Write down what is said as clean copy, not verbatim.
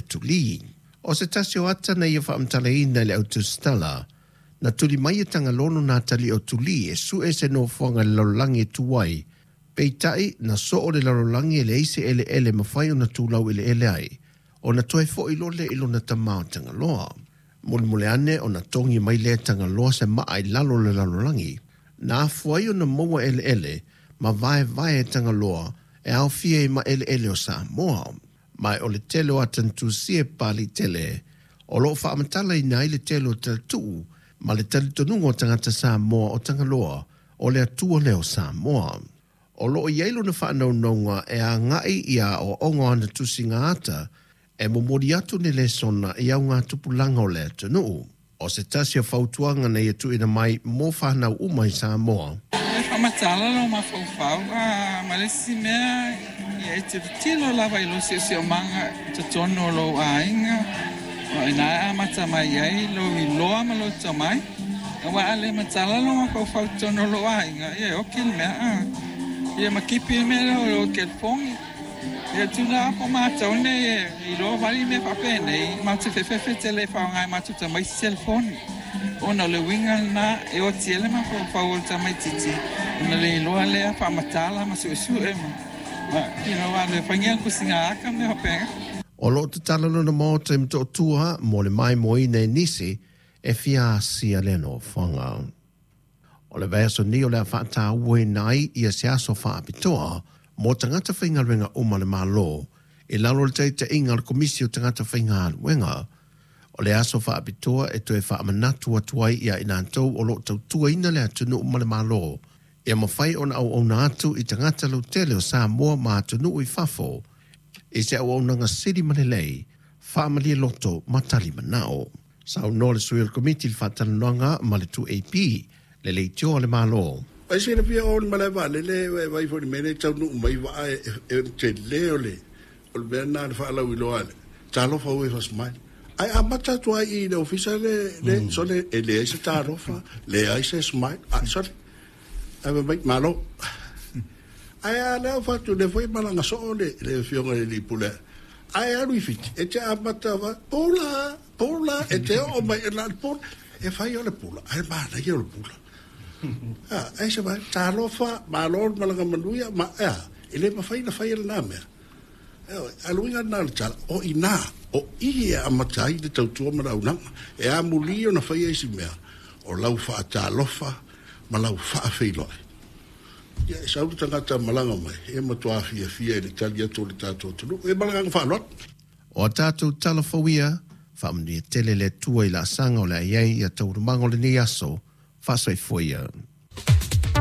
tuli. O se tasi o ata na ia faamatalaina e le au tusitala, na tuli mai e Tagaloa lona atalii o Tuli e sue se nofoaga i le lalolagi e tu ai, peitai na soo le lalolagi e leai se eleele e mafai ona tu laueleele ai, ona toe foi loa lea i lona tama o Tagaloa. Mulimuli ane ona togi mai lea e Tagaloa se maa i lalo o le lalolagi, na afua ai ona maua eleele ma vaevae e Tagaloa e aofia ai ma eleele o Samoa. Ma o le tele o ata na tusia e Papaliitele, o lo o faamatalaina ai le tele o talatuu ma le talitonuga o tagata Samoa o Tagaloa o le Atua lea o Samoa. O lo o i ai lona faanaunauga e agai i aoaoga o ana tusiga ata e momoli atu ni lesona i augatupulaga o le atunuu. O se tasi o fautuaga na ia tuuina mai mo fanau uma i Samoa. E faamatala lou mafaufau ma le isi mea, ia e tilotilo lava i lou siosiomaga i totonu o lou aiga, o i ina e amata mai ai lou iloa ma lou tomai. Aua a le matala lou mafaufau i totonu o lou aiga, ia e oki le mea, ia ma kipi le mea lea o lou telefoni. Ia tuna a po matou nei e iloa vali mea faapenei, matou te fefefe tele e faaaoga e matou tamaiti telefoni, ona o le uiga lena e oti ai le mafaufau o le tamaititi ona le iloa lea faamatala ma suesue ma you know, alu e faingia tusiga aka ma mea faapena. O lo o tatala lona maota i Motootua mo le maimoaina e nisi e fia asia lea nofoaga. O le vaiaso nei o le a faatauaina ai ia se aso faapitoa mo tagata faigaluega uma a le Malo i lalo o le taitaiga a le Komisi o Tagata Faigaluega. O le aso faapitoa e toe faamanatu atu ai ia i latou o lo o tautuaina le atunuu ma le Malo ia mafai ona auauna atu i tagata lautele o Samoa ma atunuu i fafo i se auaunaga sili ma lelei, faamalie loto ma tali manao. Saunoa le sui o le Komiti i le faatalanoaga ma le 2AP, le leitioa a le Malo. Ai silafia o le malae vaalele e vaai foi i le mea lea e taunuu mai vaa e tele o le o le mea lena le faalauiloa a le talofa ua e smile. Ae amata atu ai i le ofisa le le sole e leai se talofa, leai se smile, a sole ae fai mai malo. Ae a lea ua fatu lea foi e malaga soo le le afioga i le alii pule ae alu i Fiti e te amata pula Pula, e te oo mai e na le pula, e fai o le pula, ae manaia o le pula. A, ai se vai, talofa, malo le malaga manuia, ma, ea, e le mafai na fai e lena mea. E oi, a luiga lena o le tala, o ina, o i e amata ai le tautua ma le auaunaga. E amuli ona faia isi mea, o lau faatalofa ma lau faafeiloai. Ia, e sau le tagata malaga mai, e matua fiafia i le tali atu o le tatou atunuu. E ma le agaga faaaloalo. O a tatou tala fou ia, faamanuia tele le Atua i laasaga o le a i ai ia taualumaga o lenei aso, faasoifua ia.